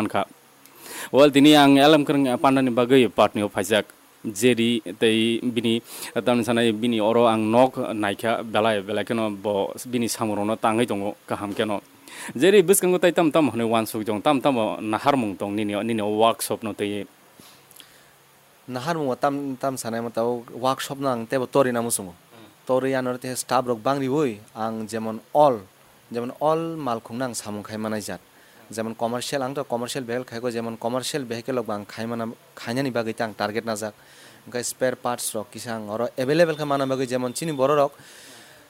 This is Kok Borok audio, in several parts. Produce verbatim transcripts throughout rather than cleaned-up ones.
mankha. Well, tini ang L M Kwrwng Pandani bagwi Patni o phaijak. Jeri tei bini, tamni sanai bini oro ang nok naikha, belai, belai kheno bo bini samungrokno tangwi tongo kaham kheno. Jeri bwskango tai tam tam hwnwi uansuk jong, tam tamo naharmung tong nini, nini o workshop no twi? Naharmungo tam, tam sanai mo tabuk workshop no ang teibo torina muchungo. Torwi ano tei staff rok bang riwi ang jemon all, jemon all malkhung no ang samung khai manai jat. Jemon commercial, ang to commercial vehicle khai ko, jemon commercial vehicle rok bo ang khai mana, khainani bagwi ta ang target najak. Hwnkhe spare parts rok kisa ang oro available khe mana bagwi, jemon chini borok rok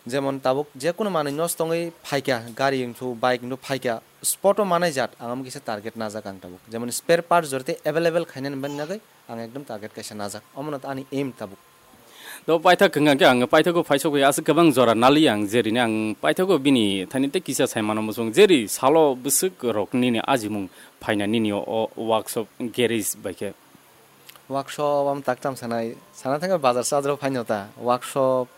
jemon tabuk jekunu manwi nosto wngwi phaikha, gari wngthu, bike wngthu phaikha, spot o manai jat ang omo kisa target najak ang tabuk. Jemon spare parts jora tei available khainani bagwi ang ekdom target kaisa najak. Omo no ani aim tabuk. To paithak hwnkha khe ang paithago phaisok bai aswk kwbang jora nali ang, jeri ni ang paithago bini thani tei kisa sai mano muchung, jeri salo bwswk rok nini ajimung phaina nini o workshop garage bai khe? Workshop am tak tam sanai, sana thangkhe bazar sadro phaino ta. Workshop,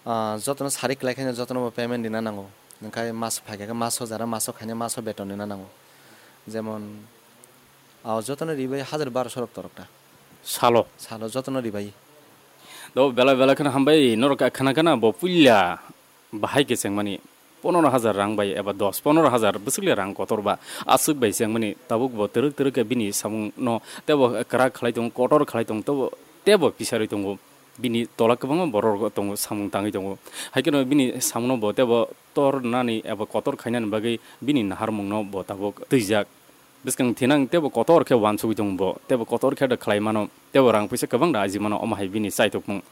ah, jotono sari kwlai khaino jotono bo payment rina nango. Hwnkhe mas phaikha khe maso jara maso khaina maso beton rina nango. Jemon, ah, jotono ribai hajar barosho rok torok ta. Salo? Salo jotono ribai. Do belai belai kheno hambai norok khana khana bo puila bahai khe chengmani ponoro hajar rang bai eba dos ponoro hajar bwswk le rang kotor ba aswk bai chengmani tabuk bo twrwk twrwk khe bini samung no tebo kwrak khlai tongo, kotor khlai tongo, tebo, tebo pisarwi tongo. Bini tola kwbangma borok tongo, samung tangwi tongo. Hai kheno bini samungno bo tebo tor nani eba kotor khainani bagwi bini naharmungno bo tabuk twijak. Bwskang thinang tebo kotor khe uansugwi tongo bo, tebo kotor khe da khlai mano, tebo rang puisa kwbang da aji mano, omo hai bini chaithokmung.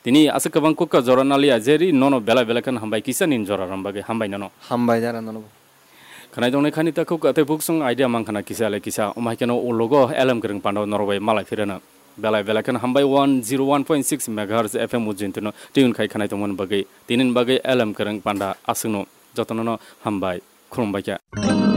Tini aswk kwbang kukha jora naliya, jeri nono belai belai kheno hambai kisa nini jora rwna bagwi, hambai nono. Hambai jara nono bo. Khwnai tongnai khani takhuk tei buksong idea mang khana kisa le kisa, omo hai kheno ulogo L M Kwrwng Panda norok bai malai phirano. Belai belai kheno hambai one zero one point six megahertz F M ujintono tune khai khwnai tongmani bagwi, tinini bagwi L M Kwrwng Panda aswkno jotonono hambai, khulumbai kha.